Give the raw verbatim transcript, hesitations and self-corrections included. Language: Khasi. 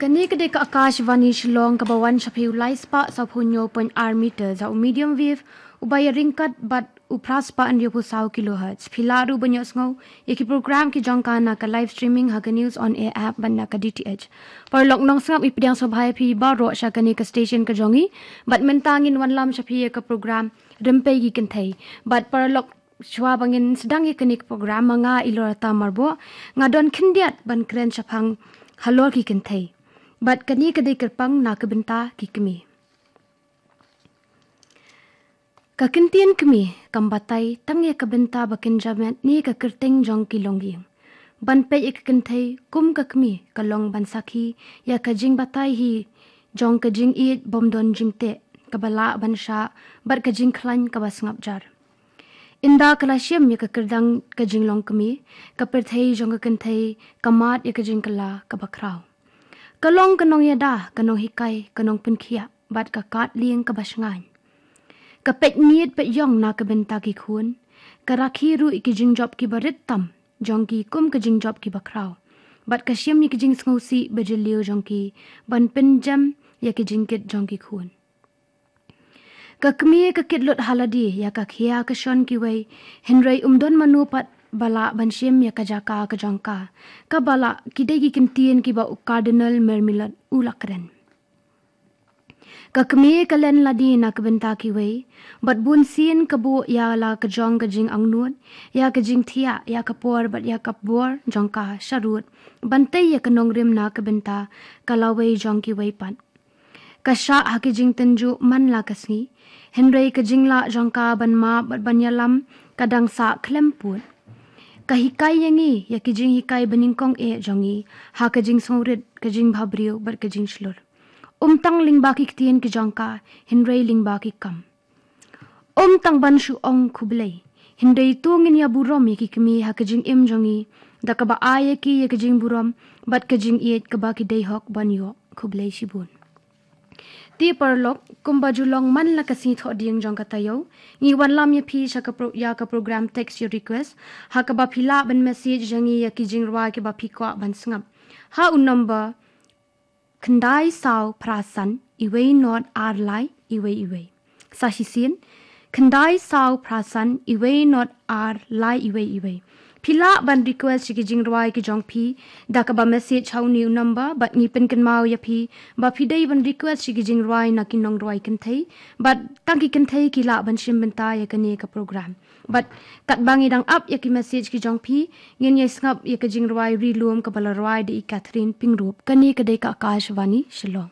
Kane ka dei ka Akashvani Shillong kaba wan sha phi u lai spah sawphew hynñiew point ar meter da u medium wave uba ïa ryngkat bad u phra spah hynñiewphew saw kilohertz. Phi lah ruh ban ïohsngew ïa ki program ki jong ka na ka live streaming ha ka News on Air app bad na ka D T H. Paralok nongsngap, ngi pdiang sngewbha ïa phi baroh sha kane ka station ka jong ngi bad mynta ngin wanlam sha phi ïa ka program Rympei ki Kynthei. Bad paralok, shuwa ba ngin sdang ïa kane ka program, ma nga Ilorata Marboh nga don khyndiat ban kren shaphang halor ki kynthei. Bad kane ka dei kyrpang na ka bynta ki kmie. Ka ktien kmie kam batai tang ïa ka bynta ba kynja met ne ka kyrteng jong ki longïing. Ban peit ïa ka kynthei kum ka kmie ka long ban sakhi ïa ka jingbatai hi jong ka jingïeit bym don jingteh, kaba lah ban shah bad ka jingkhlaiñ kaba sngap jar. Ynda ka la shim ïa ka kyrdan ka jinglong kmie, ka pyrthei jong ka kynthei ka mad ïa ka jingkylla kaba khraw. Ka long ka nongïada, ka nonghikai, ka nongpynkhiah bad ka kad lieng kaba shngaiñ. Ka peit miet peit ïong na ka bynta ki khun. Ka rakhe ruh ïa ki jingjop kiba rit tam jong ki kum ka jingjop kiba khraw. Bad ka shim ïa ki jingsngewsih ba jylliew jong ki ban pynjem ïa ki jingkit jong ki khun. Ka kmie ka kit lut ha lade ïa ka khia ka shon kiwei, hynrei um don mano pat ba lah ban shim ïa ka jaka ka jong ka. Kaba lah ki dei ki ktien kiba u Cardinal Mermelot u la kren. Ka kmie ka len lade na ka bynta kiwei, bad bunsien ka buh ïa la ka jong ka jingangnud, ïa ka jingthiah, ïa ka por bad ïa ka bor jong ka sharud ban tei ïa ka nongrim na ka bynta ka lawei jong kiwei pat. Ka shah ha ki jingtynjuh man la ka sngi, hynrei ka jinglah jong ka ban map bad ban ïalam ka dang sah khlem pud. Ka hikai ïa ngi ïa ki jinghikai banyngkong eh jong ngi ha ka jingsngewrit, ka jingbhabriew bad ka jingshlur. Um tang lyngba ki ktien ki jong ka, hynrei lyngba ki kam. Um tang ban shu ong khublei, hynrei to ngin ïa burom ïa ki kmie ha ka jingim jong ngi da kaba ai ïa ki ïa ka jingburom bad ka jingïeit kaba ki dei hok ban ïoh. Khublei shibun. Te paralok, kumba ju long man la ka sngi Thohdieng jong ka taïew, ngi wanlam ïa phi sha ka pro-, ïa ka program Text Your Request, ha kaba phi lah ban message ïa ngi ïa ki jingrwai kiba phi kwah ban sngap ha u number khyndai saw phra san iwei not ar lai iwei iwei. Sa shisien, khyndai saw phra san iwei not ar lai iwei iwei. Phi lah ban request ïa ki jingrwai ki jong phi da kaba message ha une u number, bad ngi pynkynmaw ïa phi ba phi dei ban request ïa ki jingrwai na ki nongrwai kynthei, bad tang ki kynthei ki lah ban shim bynta ïa kane ka program. Bad katba ngi dang ap ïa ki message ki jong phi, ngin ïa sngap ïa ka jingrwai Ri Lum kaba la rwai da i Catherine Pyngrope. Kane ka dei ka Akashvani Shillong.